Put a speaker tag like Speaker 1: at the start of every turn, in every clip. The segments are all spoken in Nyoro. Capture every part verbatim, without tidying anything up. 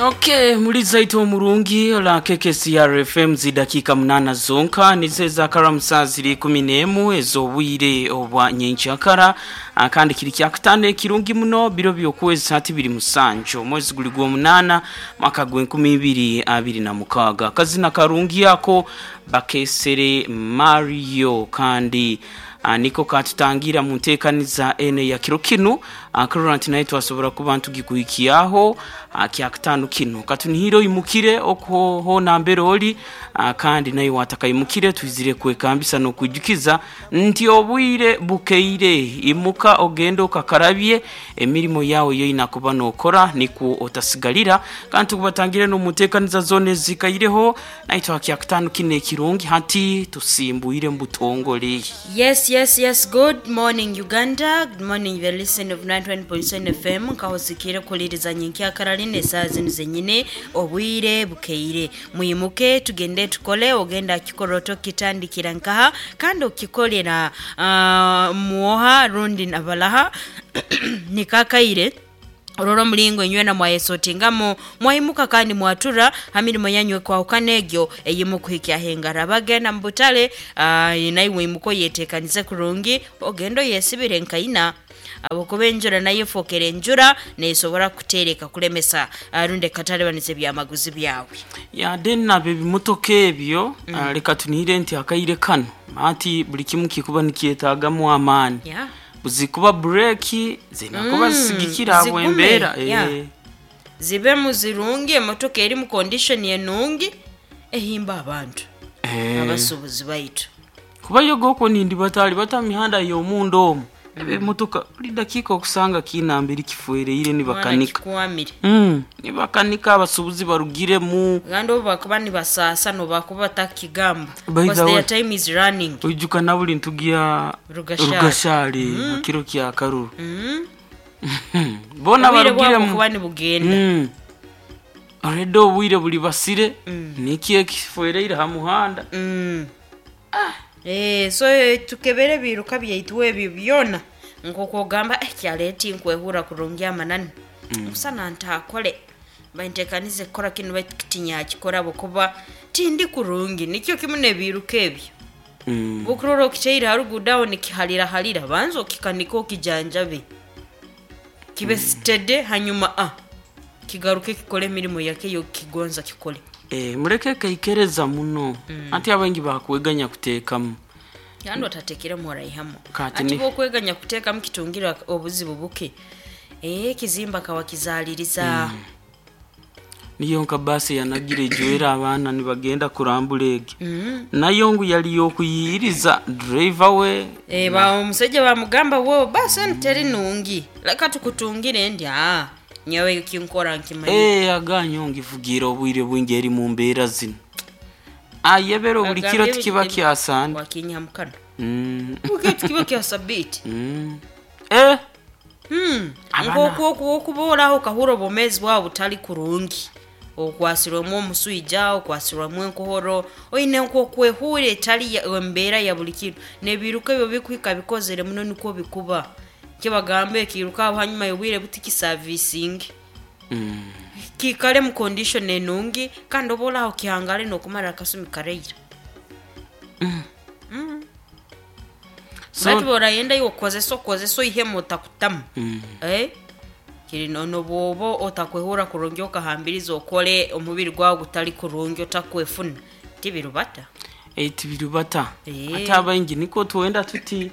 Speaker 1: Okay, muliza ito omurungi la K K C R F M, zidakika munana zonka nize zakara saa ziri kumi n'emu ez'obwire obwa nyenkyakara. Ah, kandi kiri kyakutano ekirungi muno, biro by'okwezi hati biri musanju, omwezi guli gw'omunaana, mwaka gw'enkumi ibiri abiri na mukaaga. Kazina karungi ako bakesere Mario, kandi ah, niko katutangira mu nteekaniza eno ya kiro kinu. ah, kurora nti naye twasobora kuba ntugikuhikiaho ah, kyakutano kino. Katunihire oyimukire okuho nambere oli, ah, kandi naye watakaimukire, twizire kwekambisa n'okwijukiza nti obwire bukeire. Imuka ogende okakarabye, emirimo yawe yoina kuba nokora nikwo otasigalira. Kandi tukubatangire n'omuteekaniza zona ezikaireho naitwe kyakutano kino ekirungi. Hati tusimbuire mu butongole.
Speaker 2: Yes, yes, yes. Good morning, Uganda. Good morning, the listen of ninety-one point seven F M. Nkahosikire kuliriza nyenkyakara line saa zino zenyine, obwire bukeire. Muyimuke tugende tukole. Ogenda akikoroto kitandikira nkaha kandi okikolera uh, muoha rundi nabalaha nikakaire orora omulingo inywena mwayesotingamu, mwayimuka kandi mwatura ha mirimo yanyu ekwahukana egyo eyimukuhikya hengara. Bagenda mu butale, uh, naiwe imuka oyetekanize kurungi, ogenda oyesibire nkaina, abukuba enjura nayo efokere enjura nesobora kutereka kulemesa uh, rundi ekatalibaniza ebyamaguzi byawe.
Speaker 1: Yade nabo ebimotoka ebyo mm. uh, leka tunihire nti akaire kano ati buli kimu kikuba nikyetagamu amaani,
Speaker 2: yeah.
Speaker 1: buzikuba bureki zinakuba
Speaker 2: Mm,
Speaker 1: zisigikira
Speaker 2: zigume,
Speaker 1: bwembeera.
Speaker 2: yeah.
Speaker 1: eh.
Speaker 2: Zibemu zirungi, emotoka eri mu condition enungi ehimba abantu
Speaker 1: Eh.
Speaker 2: abasuubuzi baitu.
Speaker 1: Kuba yogoko nindi batali bata mihanda y'omunda omwo, ebimotoka buli dakiika okusanga kinambiri kifuereire.
Speaker 2: Mwana
Speaker 1: Nibakanika.
Speaker 2: Kikwamire.
Speaker 1: mm. nibakanika abasuubuzi barugiremu.
Speaker 2: Kandi obu bakuba nibasaasa nobakuba batakigamba
Speaker 1: By the
Speaker 2: because
Speaker 1: way-
Speaker 2: their time is running.
Speaker 1: Oijuka na buli ntugi ya
Speaker 2: Rugashari.
Speaker 1: Rugashari mm. kiro kya karuru
Speaker 2: Mm.
Speaker 1: bona
Speaker 2: Obwire bwabo
Speaker 1: barugiremu.
Speaker 2: kuba nibugenda.
Speaker 1: Mm. already obwire buli basire niki ekifuereire ha muhanda.
Speaker 2: Mm. Eh, so eh, tukebere ebiruka byaitu ebyo byona nk'okwogamba eh, kyaleeti nkwehura kurungi amanani musana ntaakole bantekanize kukora kinu, baitu kitinyakikora bwokuba tindi kurungi. Nikyo kimu nebiruka ebyo.
Speaker 1: mm.
Speaker 2: Bukurora okiteire harugudo aho nikihalirahalira, banza okikanika, okijanjabe, kibe steady, hanyuma ah, kigaruke kikole emirimu yake yokigonza kikole.
Speaker 1: Eh, mureke kaikereza muno mm. Ati abaingi bakweganya kuteekamu.
Speaker 2: Kandi otatekeremu oraihamu.
Speaker 1: Kati
Speaker 2: Ati
Speaker 1: ni-
Speaker 2: bwokweganya kuteekamu kitungira obuzibu buke, eh, ekizimba kawakizaliriza.
Speaker 1: Niyo nka basi yanagira ejwera abaana nibagenda kurambula egi,
Speaker 2: mm.
Speaker 1: nayo ngu yali yokuyiriza driver we.
Speaker 2: Eh, ba omusajja bamugamba, wo basi enu teri nungi, leka tukutungire. Ndi aa nyowe kinkora nkimanyi.
Speaker 1: Eh, aganyo ngivugira obwire bwingi eri mu mbeera zino, ayebera buli kiro
Speaker 2: Agambye
Speaker 1: tikiba
Speaker 2: ebi-
Speaker 1: kyasande.
Speaker 2: Wakinyamukano
Speaker 1: Mm,
Speaker 2: buke tukiba kya sabiti.
Speaker 1: mm. Eh,
Speaker 2: Hmm.
Speaker 1: Abana-
Speaker 2: Nkokuboraho okahura obwomezi bwawe butali kurungi, okwasirwemu omuswija, okwasirwemu enkohoro, oine nk'okwehura etali ya- embeera ya buli kiro, nebiruka ebyo bikuhika bikozere muno nikwo bikuba kibagamba ekiruka aho hanyuma y'obwire buti kisavisingi
Speaker 1: mm.
Speaker 2: kikale mu condition enungi, kandi oba oraho kihangare n'okumara akasumi karaira.
Speaker 1: So,
Speaker 2: Bati borayenda iwe okozesa okozesa oihemu otakutamu.
Speaker 1: Mm.
Speaker 2: Eh? Kiri nono bwoba otakwehura kurungi okahambiriza okole omubiri gwawe gutali kurungi otakwefuna, tibirubata.
Speaker 1: Eh, tibirubata.
Speaker 2: Eh.
Speaker 1: Ate abaingi niko twenda tuti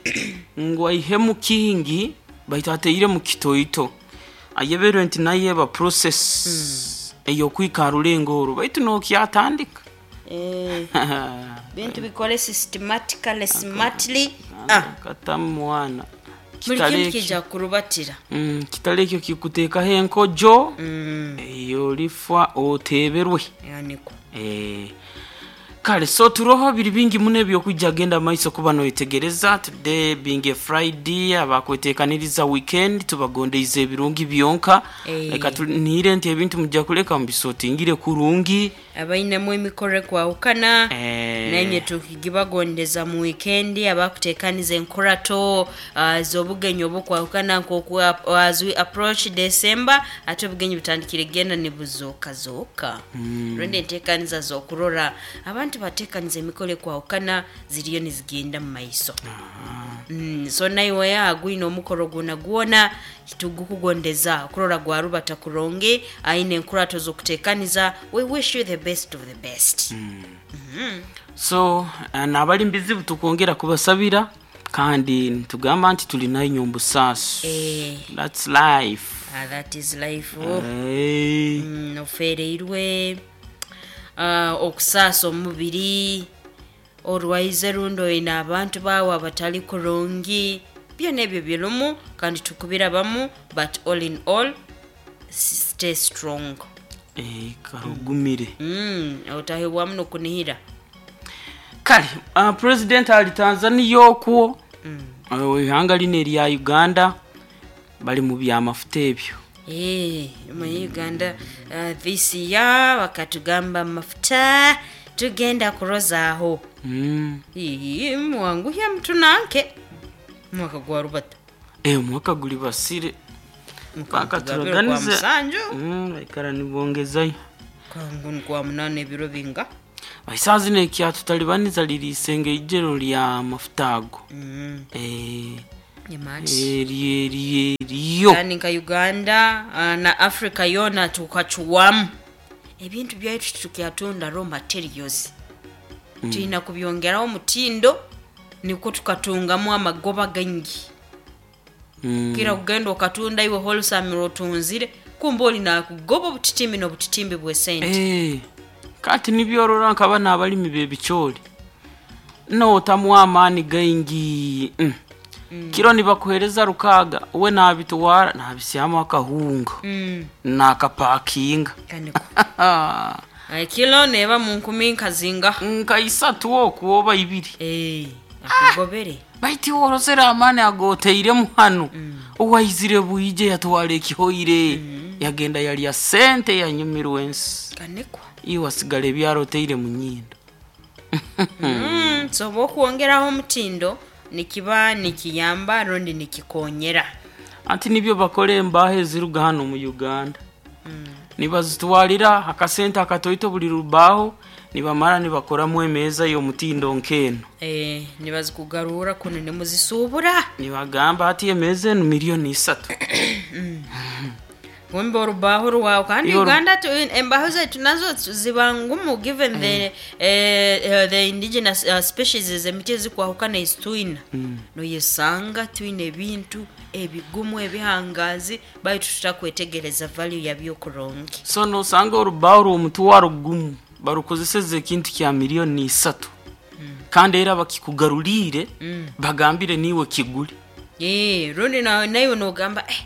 Speaker 1: ngu aihemu kingi, baitu ateire mu kitoito, ayeberwe nti naye eba process ey'okwikara orulengo orwo, baitu nokyatandika.
Speaker 2: Eh, bintu bikole systematically, smartly, ah.
Speaker 1: Katamu mwana.
Speaker 2: Buli
Speaker 1: Kitali
Speaker 2: kintu
Speaker 1: ekyo-
Speaker 2: kija kurubatira.
Speaker 1: Mm, kitali ekyo kikuteekaho enkojo
Speaker 2: Mm,
Speaker 1: eyo olifa oteeberwe.
Speaker 2: Yaniko.
Speaker 1: Eh, Kale, so turoho biri bingi muno ebyokujja genda maiso kuba noyetegereza. Today being a Friday, abakwetekaniriza weekend, tubagondeize ebirungi byonka.
Speaker 2: Eh.
Speaker 1: Leka tunire nti ebintu mujja kuleka mubisotingire kurungi.
Speaker 2: Abainemu emikoro ekwahukana,
Speaker 1: Eh.
Speaker 2: naimwe tukigibagondeza mu weekend, abakutekaniza enkurato uh, z'obugenyi obukwahukana nkoku as we approach December, ate obugenyi butandikire genda nibuzooka mm. Rundi entekaniza z'okurora abantu batekaniza emikoro ekwahukana ziriyo nizigenda mu maiso. Mm, so naiwe agwine omukoro gwona gwona, tugukugondeza okurora gwarubata kurungi, aine enkurato z'okutekaniza. We wish you the best of the best. mm.
Speaker 1: So eh, n'abali mbizibu tukwongera kubasabira, kandi nitugamba nti tulinayo nyombusasu.
Speaker 2: Eh.
Speaker 1: That's life.
Speaker 2: Ah, that is life. Oh.
Speaker 1: Hey.
Speaker 2: Mm, ofereirwe, uh, okusaasa omubiri, orwaize rundi oine abantu baawe abatali kurungi, byona ebyo birumu kandi tukubirabamu, but all in all, stay strong.
Speaker 1: Eh, karugumire.
Speaker 2: mm, otahebwamu nokunihira.
Speaker 1: Kale, uh, president ali Tanzania okwo, mm. Ihanga lino erya Uganda bali mu byamafuta ebyo.
Speaker 2: Eh, mu Uganda uh, this year bakatugamba mafuta tugenda kurozaaho.
Speaker 1: Mm.
Speaker 2: Ii, mwanguhya mutunanke mwaka gwa rubata.
Speaker 1: Eh, omwaka guli basire. Paka
Speaker 2: kwa
Speaker 1: turaganize.
Speaker 2: Musanju.
Speaker 1: Mm, baikara nibongezayo.
Speaker 2: Kwangu kwa munana ebiro binga.
Speaker 1: Esaaha zino ekyatutalibaniza liri isenge ijero lya mafuta ago.
Speaker 2: Mm.
Speaker 1: Eh,
Speaker 2: Nyamati.
Speaker 1: eri eri eriyo.
Speaker 2: Kandi nka Uganda uh, na Africa yona tukacuwamu ebintu byaitu, tukyatunda raw materials, mm. Tulina kubyongeraho omutindo nikwo tukatungamu amagoba gaingi.
Speaker 1: Mm.
Speaker 2: Kira kugenda okatunda iwe wholesale otunzire, kumba olina kugoba obutitimbi n'obutitimbi bw'esente.
Speaker 1: Eh, kati nibyorora nkaba n'abalimi b'ebicoori nootamu amaani gaingi, mm. Kiro nibakuhereza rukaaga, we nabitwara nabisyamu akahunga,
Speaker 2: Mm.
Speaker 1: nakapakinga.
Speaker 2: Kaniko Ay, kilo neba mu nkumi nkazinga.
Speaker 1: Nka isatu okwo oba ibiri.
Speaker 2: Eh, akugobere.
Speaker 1: Baiti worosera amaani agoteiremu hano, owaizire bwije yatwara ekihoire, yagenda yalya sente, yanyumirwa ensi.
Speaker 2: Kanekwa.
Speaker 1: Iwe wasigala ebyaroteire mu nyindo.
Speaker 2: Mm, so bwokwongeraho omutindo nikiba nikiyamba rundi nikikonyera.
Speaker 1: Anti nibyo bakora embaho eziruga hano mu Uganda, nibazitwalira akasente akatoito buli rubaho, nibamara nibakoramu emeeza y'omutindo nk'eno.
Speaker 2: Eh, nibazikugarura kuno nimuzisuubura.
Speaker 1: Nibagamba ati emeeza enu miliyoni isatu.
Speaker 2: Wembe orubaho rwawe kandi.
Speaker 1: Iyo oru-
Speaker 2: Uganda tu, embaho zaitu nazo ziba ngumu given the, eh, eh, the indigenous uh, species, emiti ezikwahukana ezitwina, noyesanga twine ebintu ebigumu ebihangazi, baitu tutakwetegereza value yabyo kurungi.
Speaker 1: So nosanga orubaho rw'omutwaro gumu barukozeseza ekintu kya miliyoni isatu, kandi era bakikugaruriire bagambire niwe kigule.
Speaker 2: Eh, rundi na- naiwe nogamba, eh,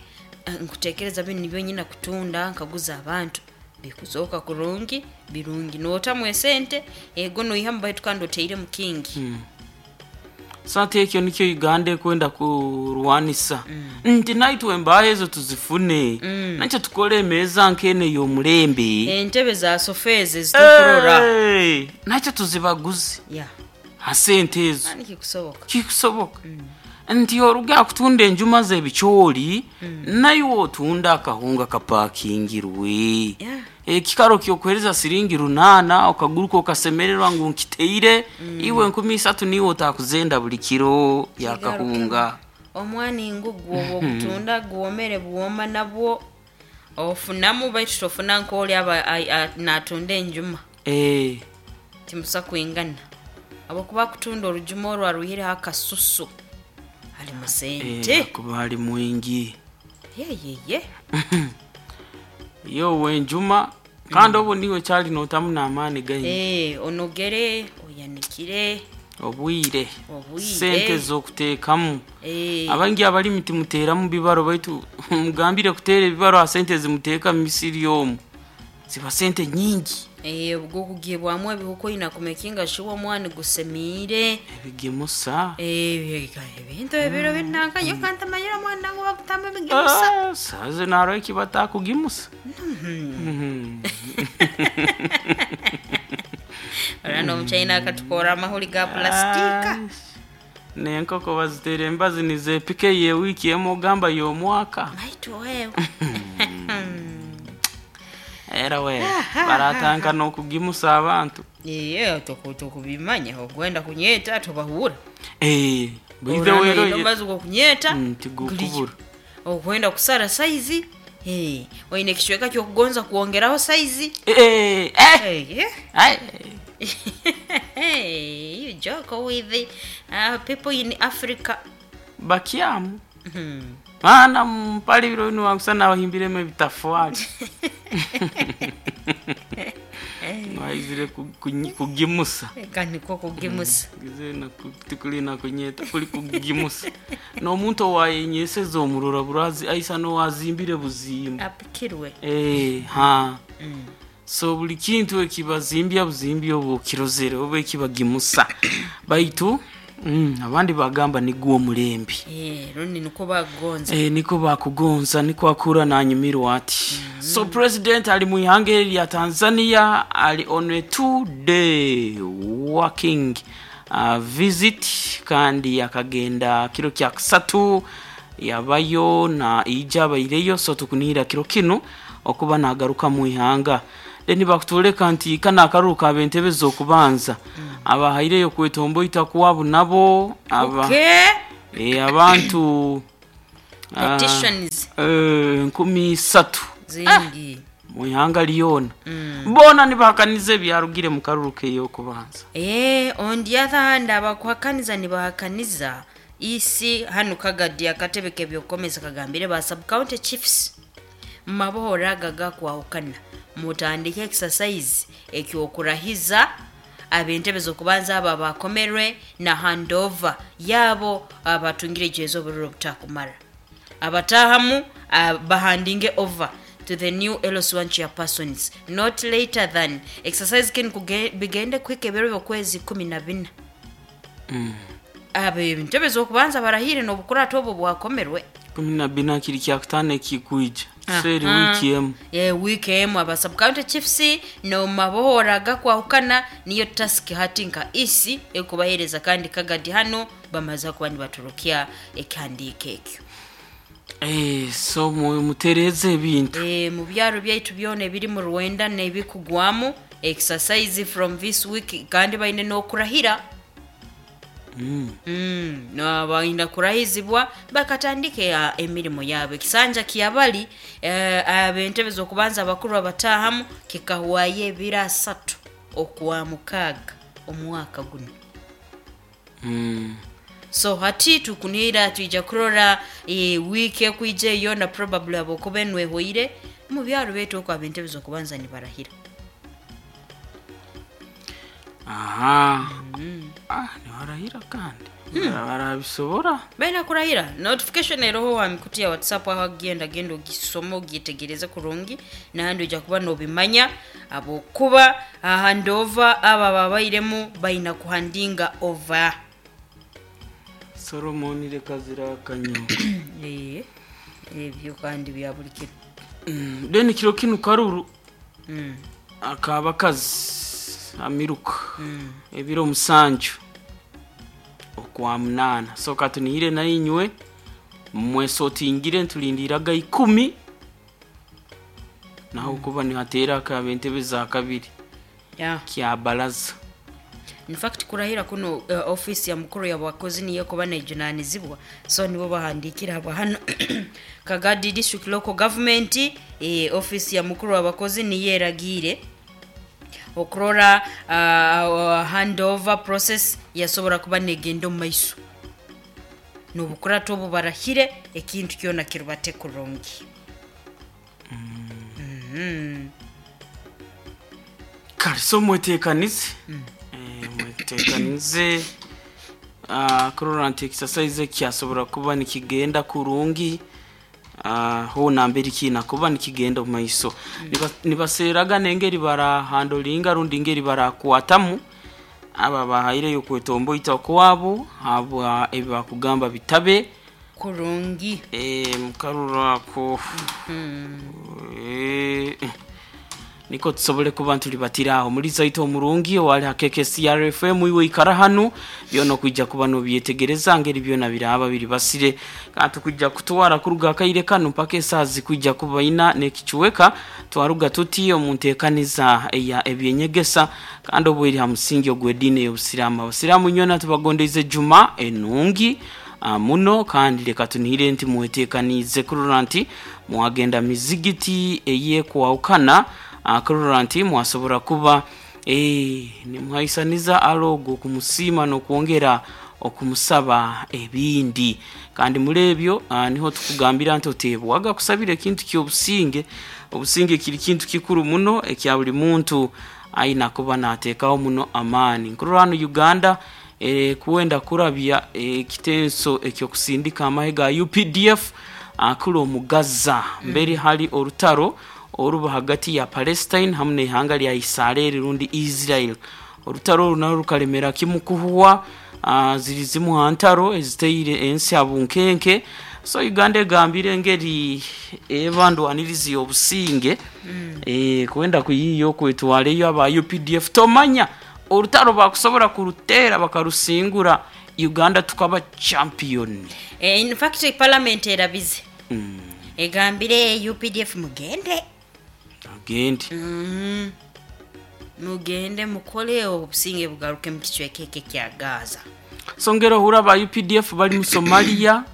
Speaker 2: nkutekereza bino nibyo nyina kutunda nkaguza abantu, bikuzoka kurungi birungi, notamu esente ego noihamu, baitu kandi oteire mu kingi.
Speaker 1: So ati ekyo nikyo Uganda ekwenda kurwanisa, nti naitwe embaho ezo tuzifune, nakyo tukole emeeza nk'eno ey'omulembe.
Speaker 2: Entebe za sofa ezo ezitukurora.
Speaker 1: Hey, nakyo tuzibaguze
Speaker 2: ya
Speaker 1: ha sente ezo.
Speaker 2: Ani kikusoboka.
Speaker 1: Kikusoboka nti oruga kutunda enjuma z'ebicoori, naiwe otunda akahunga kapakingirwe.
Speaker 2: Yeah.
Speaker 1: Ekikaro kyokuhereza siringi runaana, okaguruka okasemererwa ngu nkiteire, iwe enkumi isatu niwe otakuzenda buli kiro yakahunga.
Speaker 2: Omwani ngu gwoba ogutunda gwomere bwoma, nabwo ofunamu, baitu tofuna nk'oli aba ai- a- natunda enjuma.
Speaker 1: Eh,
Speaker 2: Timusa kwingana, habwokuba kutunda orujuma orwo aruhireho akasusu ali mu sente.
Speaker 1: Eh, kuba ali mwingi.
Speaker 2: Yeyeye.
Speaker 1: Yo wenjuma kandi obu niwe kyali notamu n'amaani gaingi.
Speaker 2: Eh, onogere oyanikire.
Speaker 1: Obwire.
Speaker 2: Obwire.
Speaker 1: Sente z'okuteekamu.
Speaker 2: Eh,
Speaker 1: abangi abalimi timuteeramu bibaro, baitu mugambire kuteera ebibaro ha sente zimuteeka mu misiri omu ziba sente nyingi.
Speaker 2: Eh, gukugibwamu ebihuka oyina kumekinga shuwa omwani gusemiire.
Speaker 1: Ebigimusa.
Speaker 2: Eh, ebintu ebiro binanka yo kantamanyira omwana ngu bakutamba ebigimusa.
Speaker 1: Ah, saze naro ekibatakugimusa. Mhm.
Speaker 2: Ora n'omuchina akatukora amahuri ga pulastika.
Speaker 1: Ah, n'enkoko bazitera embazi nizepika yewiiki emu ogamba y'omwaka.
Speaker 2: Maitu wewe.
Speaker 1: Era we baratanka n'okugimusa abantu.
Speaker 2: Iye tukubimanya ogwenda kunyeta tubahura.
Speaker 1: Eh, bwite wero ye-
Speaker 2: mazi gokunyeta.
Speaker 1: Mm, tigukubura.
Speaker 2: Okwenda kusara saizi. Eh, oine ekicweka kyokugonza kuongeraho saizi.
Speaker 1: Eh, eh, eh.
Speaker 2: Eh, yeah.
Speaker 1: Ai.
Speaker 2: Hey, you joke with the uh, people in Africa.
Speaker 1: Bakyamu.
Speaker 2: Mhm.
Speaker 1: Maana mpali biro binu wakusana abahimbiremu ebitafaali. Waizire ku- kunyi- kugimusa.
Speaker 2: Kandi ko kugimusa.
Speaker 1: Gize na ku- tikuli na kunyeta kuli kugimusa. N'omuntu owayenyeseza omurora burazi aisa n'owazimbire buzimba.
Speaker 2: Apikirwe.
Speaker 1: Eh, ha. So buli kintu ekibazimbya buzimbya obwo kirozere oba ekibagimusa. Baitu mm, abandi bagamba niguo mulembi.
Speaker 2: Eh, rundi niko bagonza.
Speaker 1: E, niko bakugonza niko akura nanyumirwa ati. Mm. So president ali mu ihanga lya Tanzania ali on a two day working uh, visit kandi akagenda kiro kya kusatu yabayo na ija abaireyo, so tukunihira kiro kino okuba nagaruka mu ihanga. Then bakutuleka nti kana akaruka abentebe z'okubanza mm. abahaireyo kwetomboita kuwabu nabo aba
Speaker 2: Okay.
Speaker 1: e, abantu ah,
Speaker 2: Petitions
Speaker 1: eh, nkumi satu
Speaker 2: zingi.
Speaker 1: mu ihanga lyona bona nibahakaniza ebyarugire mu karuru k'eyokubanza.
Speaker 2: Eh, on the other hand abakuhakaniza nibahakaniza isi hano Kagadi akatebe kebyokomeza kagambire ba sub county chiefs mabohora agaga kwahukana mutandike exercise ekyokurahiza abentebe zokubanza aba bakomerwe na handover yabo abatungire jezo oburiro butakumara abatahamu uh, bahandinge over to the new L S one chairpersons not later than exercise kin kuge- bigende kwike ebiro byokwezi kumi na bina.
Speaker 1: Mm.
Speaker 2: Abe entebe zokubanza barahire n'obukurato obwo bwakomerwe
Speaker 1: Kumi na bina kiri kya kutano ekikwija seri
Speaker 2: Aha.
Speaker 1: wiki emu.
Speaker 2: Ye wiki emu aba sub county chiefs no mabohora gakwahukana niyo task hati nka isi ekubahereza kandi Kagadi hano bamaze kuba nibaturukia ekihandiiko ekyo.
Speaker 1: Eh, so mu- mutereze ebintu.
Speaker 2: Eh, mu byaro byaitu byona ebiri mu Rwanda n'ebikugwamu exercise from this week kandi baine n'okurahira.
Speaker 1: Mm.
Speaker 2: Mm, na baina kurahizibwa bakatandike ya emirimu yabo ekisanja kiyabali eh, abentebe zokubanza abakuru abatahamu kikahwaye ebiro asatu okwa mukaaga omwaka guno.
Speaker 1: Mm.
Speaker 2: So hati tukunira tuija kurora e, wiki ekwija eyo na probably abokuba enwehoire mu byaro betu okwo abentebe zokubanza nibarahira.
Speaker 1: Aha. Ah, nibarahira kandi. Barabisobora.
Speaker 2: Baina kurahira notification eroho wa mikuti ya WhatsApp aho agenda genda ogisoma ogyetegereze kurungi nahandi ojja kuba nobimanya abokuba ahandova aba babairemu baina kuhandinga over.
Speaker 1: Solomon reka zirakanyo.
Speaker 2: Eh, ebyo kandi bya buli kiro.
Speaker 1: Mm, then kiro kinu karuru
Speaker 2: Mm.
Speaker 1: akabakazi amiruka
Speaker 2: Mm.
Speaker 1: ebiro musanju okwa munana. So katunihire na inywe mwesotingire ntulindiraga ikumi naho kuba nihatera akaba entebe za kabiri
Speaker 2: Yeah.
Speaker 1: kya baraza.
Speaker 2: In fact kurahira kuno uh, office ya mukuru ya bakozi niyo kuba nejunanizibwa so nibo bahandikira aba hano Kagadi district local government eh, office ya mukuru w'abakozi niyo eragire okurora uh, handover process yasobora kuba negenda omu maiso n'obukurato obu barahire ekintu kyona kirubate kurungi. Mm. Mm.
Speaker 1: Kale so mweteekanize. Mm. Eh, mweteekanize uh, kurora nti exercise kyasobora kuba nikigenda kurungi. uh, hona mbere kina kuba nikigenda mu maiso. mm. Nibaseeraga nengeri barahandolinga rundi ngeri barakwatamu aba bahaireyo kwetomboita kwabo habwa ebibakugamba bitabe
Speaker 2: kurungi
Speaker 1: eh mukarurako. mm -hmm. eh niko tusobole kuba ntulibatiraho muri zaito omurungi wali hakeke C R F M iwe ikara hanu byono kujja kuba no byetegereza ngeri byona biraba biri basire kandi kujja kutwara kuruga kaire kanu mpaka esazi kujja kuba ina nekicuweka twaruga tuti omuntekaniza eya ebyenyegesa kandi obweri ha musingi ogwedine y'obusiramu. Abasiramu nyona tubagondeze juma enungi muno kandi leka tunihire nti muwetekanize kurora nti mwagenda mizigiti eye kuwaukana kurora nti mwasobora kuba eh nimwaisaniza alogo kumusima no kuongera okumusaba ebindi kandi mulebyo niho tukugambira nti otebwaga kusabira ekintu ky'obusinge. Obusinge kiri kintu kikuru muno ekya buli muntu aina kuba nateekaho muno amaani. Nkururano Uganda e, kuwenda kurabya ekitenso e, ekyokusindika amahe ga U P D F akulu omugaza mbere hali orutaro oruba hagati ya Palestine hamwe n'ihanga lya Israel rundi Israel. Orutaro runaro rukalemera kimukuhuwa uh, ziri zimu hantaro eziteire ensi abunkenke. So Uganda egambire ngeri ebandu anirizi obusinge mm. e, kuwenda kuyiyo kwetwaleyo aba U P D F tomanya orutaro bakusobora kurutera bakarusingura Uganda tukaba champion.
Speaker 2: Eh, in fact parliament erabize mm. egambire U P D F mugende
Speaker 1: agende
Speaker 2: mm. mugende mukole obusinge bugaruke mu kicwekeke kya Gaza.
Speaker 1: Songero hura ba U P D F bali mu Somalia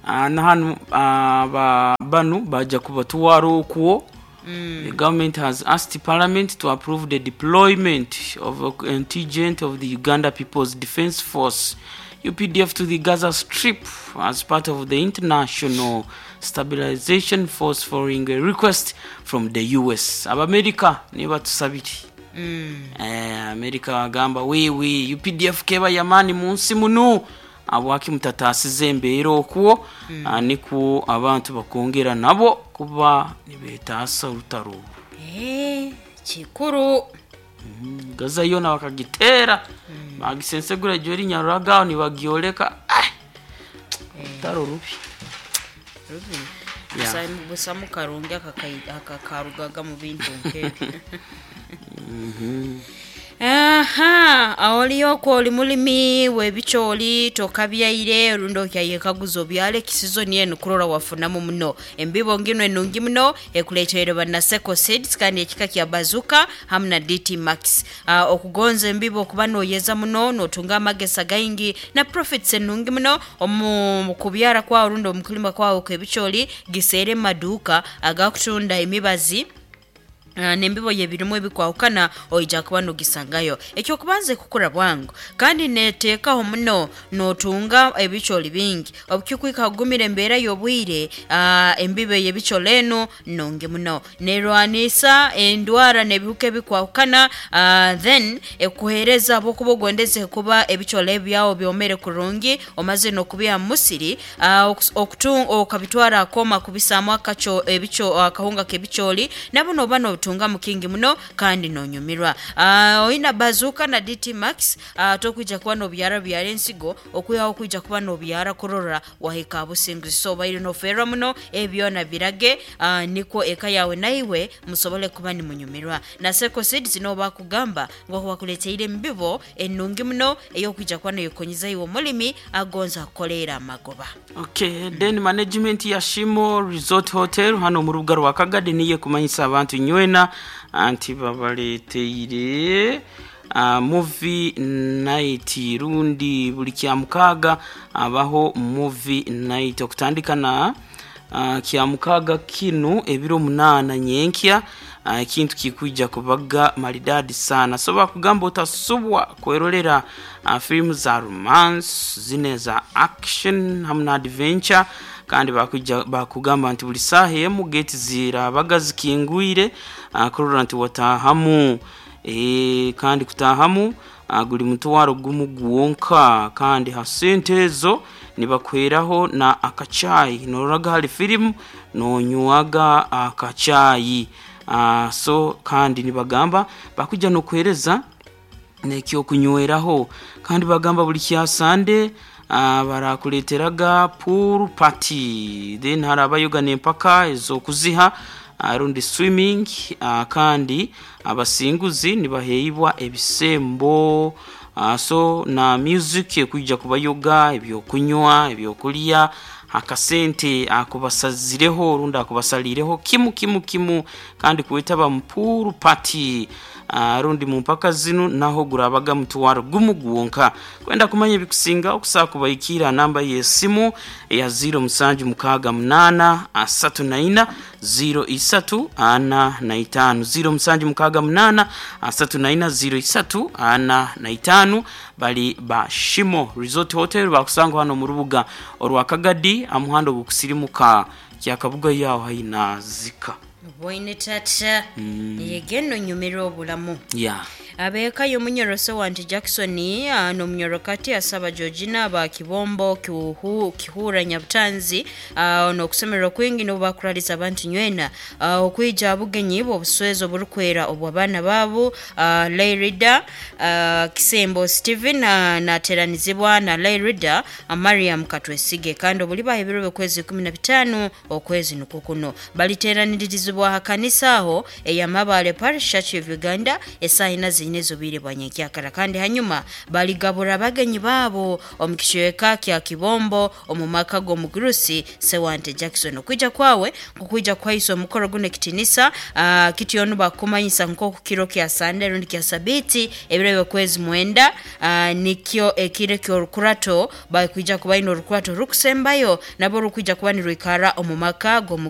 Speaker 1: uh, na hanu uh, ba banu baja kubatwara okwo. Mm. The government has asked Parliament to approve the deployment of a contingent of the Uganda People's Defense Force U P D F to the Gaza Strip as part of the International Stabilization Force following a request from the U S. Abamerika niba tusabiri. Mm. Eh, Amerika agamba wewe U P D F keba yamani munsi munu abwaki mutatasize embeera okwo mm. Aniku abantu bakongera nabo kuba nibetaasa orutaro.
Speaker 2: Eh, kikuru
Speaker 1: mm. Gaza yona bakagitera mm. bagisensegura jori nyaruraga nibagioleka ah rutaro rubi
Speaker 2: rubi yeah. Busa mukarungi akakarugaga mu bintu nkebyo.
Speaker 1: Mhm.
Speaker 2: Aha, awoliyoko oli mulimi webicholi tokabyaire rundo kyayekaguzo byale kisizoni eno kurora wafunamu muno embibo ngino enungi muno ekuleetera banaseko seeds kandi ekika kya bazuka hamwe na D T Max. Uh, okugonza embibo kuba noyeza muno notunga amagesa gaingi na profits enungi muno omu kubyara kwa rundo omukulima kwawo kebicholi gisere maduka agakutunda emibazi Uh, nembibo yebirimu ebikwahukana oija kuba nogisangayo. Ekyo kubanze kukura bwangu kandi neteekaho muno notunga ebicholi bingi obukikwika kugumira embeera y'obwire. uh, embibo yebicholi eno nonge muno nerwanisa endwara n'ebihuka ebikwahukana, uh, then ekuhereza abokuba ogondeze kuba ebicholi ebyawo byomere kurungi omaze n'okubya musiri, uh, okabitwara akoma kubisaamu akacho ebicho akahunga k'ebicholi nabo noba no tunga mukingi muno kandi nonyumirwa. uh, oyina bazuka na D T Max uh, tokuja kuba no byara byara ensigo okuyaho kuja kuba no byara kurora wahika businguzi so baire no ferra muno ebyo na birage uh, niko eka yawe naiwe musobole kuba ni munyumirwa. Na Seko Seeds no bakugamba ngo bakuleteire mbibo enungi muno eyo kuja kuba no yokonyiza iwo mulimi agonza kolera magoba.
Speaker 1: Okay, mm. Then management ya Shimo Resort Hotel hano mu rubuga rwa Kagadi niye kumanyisa abantu nywena anti babaleteire uh, movie night rundi buli kya mukaga abaho movie night okutandika na uh, kya mukaga kinu ebiro munana nyenkya ekintu uh, kikuja kubaga maridadi sana. So bakugamba utasubwa kwerolera uh, film za romance zine za action hamwe na adventure kandi bakuja bakugamba nti buli saha emu gate zirabaga zikingwire uh, kurora nti watahamu e, kandi kutahamu uh, guli mutwaro gumu guwonka kandi ha sente ezo Nibakuheraho na akachayi, nororaga hali filimu nonywaga akachayi. uh, so kandi nibagamba bakuja nokuhereza nekyokunyweraho. Kandi bagamba buli kyasande uh, barakuleteraga pool party, then harabayoga nempaka ezokuziha uh, rundi swimming. uh, kandi abasinguzi nibaheibwa ebisembo. uh, so na music ekuija kubayoga, ebyokunywa, ebyokulya, akasente akubasazireho rundi akubasalireho kimu kimu kimu. Kandi kwetaba mu pool party uh, rundi mu mpaka zinu naho gurabaga mutwaro gumu gwonka. Kwenda kumanya ebikusinga okusaa kubaikira namba y'esimu ya ziro musanju mukaaga munana asatu na ina ziro isatu ana na itano, ziro musanju mukaaga munana asatu na ina ziro isatu ana na itano. Bali ba Shimo Resort Hotel, bakusanga hano mu rubuga orwa Kagadi amuhando gukusirimuka kyakabuga yaho haina zika.
Speaker 2: Bwoine tata, yegeno nyumirwa obulamu.
Speaker 1: Yeah.
Speaker 2: Abeeka y'omunyoroso wanti Jackson ah, n'omunyorokati asaba Georgina ba Kibombo kiuhu, Kihura Nyabutanzi ah, n'okusemererwa kwingi n'obubakuraliza abantu nywena ah, okwija abugenyi bw'obuswezo oburukwera obw'abaana baabo ah, Leirida ah, Kisembo Steven ah, nateranizibwa na Leirida ah, Mariam Katwesige. Kandi obulibaho ebiro by'okwezi ikumi na bitaano okwezi nukwo kuno baliteraniririzibwa ha kanisa aho ey'Amabale Parish Church of Uganda esaaha ina ziine z'obwire bwa nyenkyakara. Kandi hanyuma baligabura abagenyi baabo omu kicweka kya Kibombo omu maka g'omugurusi Sewante Jackson. Okwija kwawe nkukwija kuhaisa omukoro guno ekitinisa uh, kityo bakumanyisa nk'oku kiro kya Sande rundi kya Sabiti ebiro by'okwezi mwenda uh, nikyo ekiro ky'orukurato bakwija kuba baine orukurato rukusembayo nabo rukwija kuba nirwikara omu maka g'omu